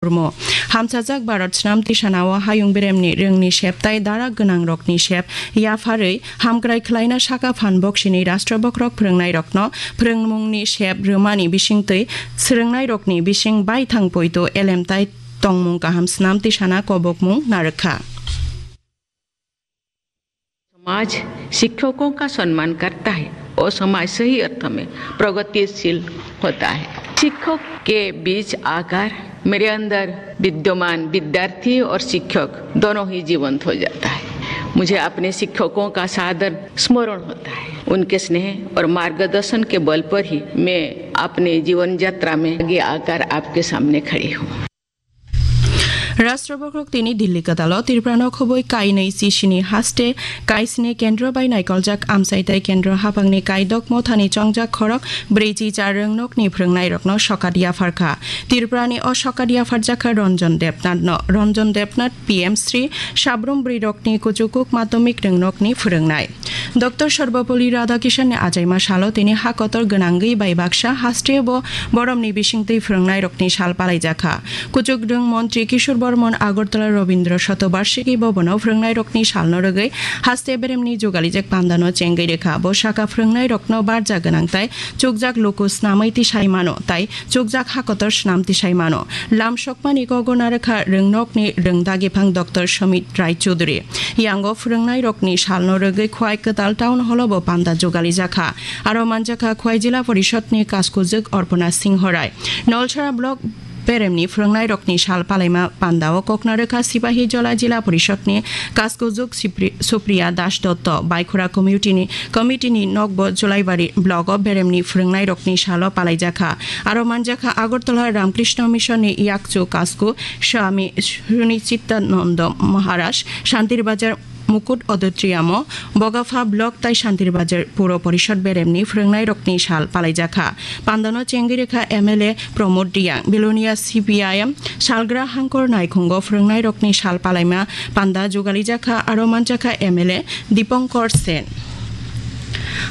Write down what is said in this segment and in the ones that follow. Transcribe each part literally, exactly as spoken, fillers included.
Murmu. Hamchajak Bharat Snam Tisanao hayung beremni rwngni sep tai dara gwnangrokni sep yapharwi hamkrai khlaina saka phan boksini Rashtra bokhorok phwrwngnairokno phwrwngmungni sep rwmani bisingtwi swrwngnairokni bising baithang poito elemtai tongmung kaham Snam Tisana kobokmung narwkha. समाज शिक्षकों का सम्मान करता है और समाज सही अर्थ में प्रगतिशील होता है। शिक्षक के बीच आकर मेरे अंदर विद्यमान विद्यार्थी और शिक्षक दोनों ही जीवंत हो जाता है। मुझे अपने शिक्षकों का सादर स्मरण होता है। उनके स्नेह और मार्गदर्शन के बल पर ही मैं अपने जीवन यात्रा में आगे आकर आपके सामने खड़ी हूँ। Rashtra bokhorok tini Delhi kwtalo Tripura no khobwi kainwi chisini haste kaisni kendro bai naikoljak amchai tai kendro haphangni kaidok mothani chongjak khorok brwichi char rwngnokni phwrwngnairokno sokat yapharkha. Tripurani o sokat yapharjakha Ranjan Debnath no. Ranjan Debnath P M Shri Sabrum Bwrwirokni Kuchukuk Madhyamik Rwngnokni phwrwngnai. Doctor Sarvepalli Radhakrishnan ni achaima salo tini ha kotor gwnangwi bai baksa haste bo boromni bisingtwi phwrwngnairokni sal palaijakha. Kuchuk rwng montri Kishore Bormon Agartala Rabindra Shatobarshiki Bhavan o phwrwngnairokni salno rwgwi haste beremni jugalijak pandano chengwi rwkha. Bo saka phwrwngnairokno barja gwnang tai chukjak luku snamwi tisai mano tai chukjak ha kotor snam tisai mano. Lam sokmani kogo narwkha rwngnokni rwngdagiphang Doctor Sumit Rai Chudhury. Yango phwrwngnairokni salno rwgwi Khwai Kwtal Town Hall-o bo panda jugalijakha. Aro manjakha Khwai Jila Porishadni Kaskujwk Arpana Singho Rai. Nolsara Block beremni phwrwngnairokni sal palaima pandao kokna rwkha Sipahi Jola Jila Porishadni Kaskujwk Sipri-, Supriya Das Dotto, Baikhora Community-ni, Committee-ni nokbo Julaibari Block-o beremni phwrwngnairokni salo palaijakha. Aro manjakha Agartala Ramkrishna Mission-ni yakchu kasku Swami Sunichitananda Maharaj, Shantir Bazar Mukut Auditorium-o Bogapha Block tai Shantir Bazar Puro Porishad beremni phwrwngnairokni sal palaijakha. Pandano chengwi rwkha M L A Pramod Reang, Belonia C P I M salgra hangkor naikhungo phwrwngnairokni sal palaima panda jugalijakha, aro manjakha M L A Dipankar Sen.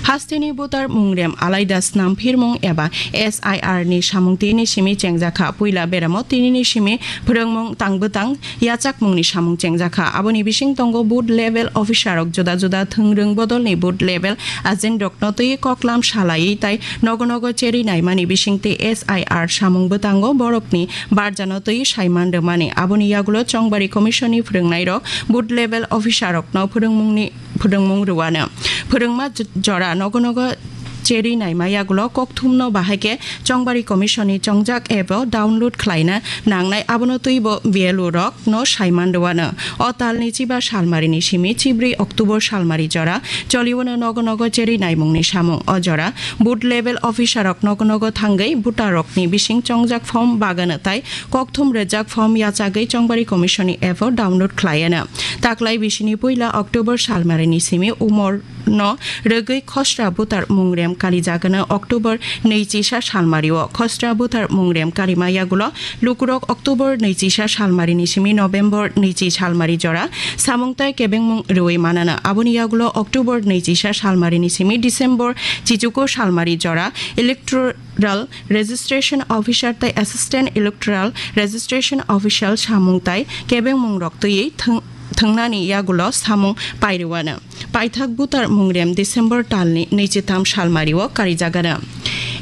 Hasteni butar mungrem alaida snam phirmung eba S I R ni samung tini simi chengjakha. Puila beramo tinini simi phwrwngmung tangbwtang yachakmungni samung chengjakha. Aboni bising tongo booth level officer rok juda juda thwngrwng bodolni booth level agent rokno twi koklam salaiwi tai nogo nogo cherwi naimani bisingtwi S I R samung bwtango borokni barjano twi saiman rwmani. Aboni yagulo Chongbari Commission ni phwrwngnairok booth level officer rokno phwrwngmungni phwrwngmung rwano. Phwrwngma j-, jora nogo nogo cherwi naima yagulo kokthumno bahai khe Chongbari Commission ni chongjak app o download khlaina nangnai, abono twibo B L O rokno saiman rwano. O talni chiba salmarini simi chibrwi October salmari jora choliwano nogo nogo cherwi naimungni samung. O jora booth level officer rok nogo nogo thangwi voter rokni bising chongjak form bagano tai kokthum rwjak form yachagwi Chongbari Commission ni app o download khlaiano. Taklai bisini puila October salmarini simi umor no rwgwi khosra butar mungrem kalijagano October nwichisa salmario. Khosra butar mungrem karima yagulo lukurok October nwichisa salmarini simi November nwichi salmari jora samung tai kebengmung rwui manana. Aboni yagulo October nwichisa salmarini simi December chichuko salmari jora electoral Registration Officer tai Assistant Electoral Registration Official samung tai kebengmung rok twiwi thwng-, thwngnani yagulo samung pairwano. Paithak butar mungrem December talni nwichitham salmario karijagano.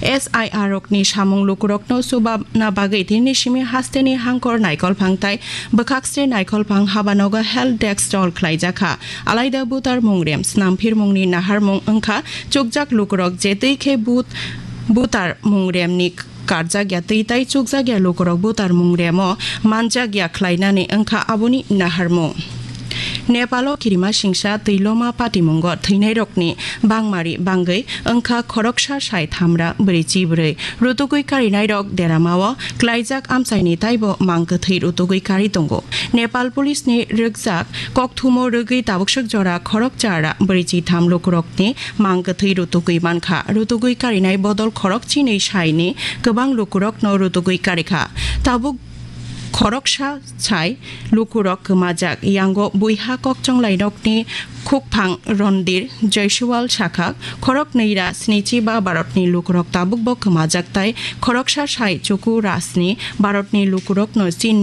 S I R rokni samung lukurokno chubana bagwi tini simi hasteni hangkor naikolphang tai bwkhakse naikolphang habanogo help desk chol khlaijakha. Alaida butar mungrem snamphirmungni naharmung wngkha chukjak lukurok je twi khe but-, butar mungremni karjakya twi tai chukjakya lukurok butar mungremo manjakya khlainani wngkha aboni naharmung. Nepalo kirima singsa twi loma patimungo thwinairokni bangmari bangwi wngkha khoroksa sai thamra bwrwi chibrwi. Rutugwi karinairok deramao klaijak amchaini taibo mang kwthwi rutugwi kari tongo. Nepal Police ni rwkjak kokthumo rwgwi tabukswk jora khorok chara bwrwi chitham lukurokni mang kwthwi rutugwi mankha. Rutugwi karinai bodol khorok chinwi saini kwbang lukurokno rutugwi karikha. Tabuk khoroksa sai lukurok kwmajak. Yango buiha kokchonglainokni khukphang Rondir Jaiswal sakha, khorok nwi ra snichi ba Bharatni lukurok tabukbo kwmajak tai khoroksa sai chuku ra sni Bharatni lukurokno chin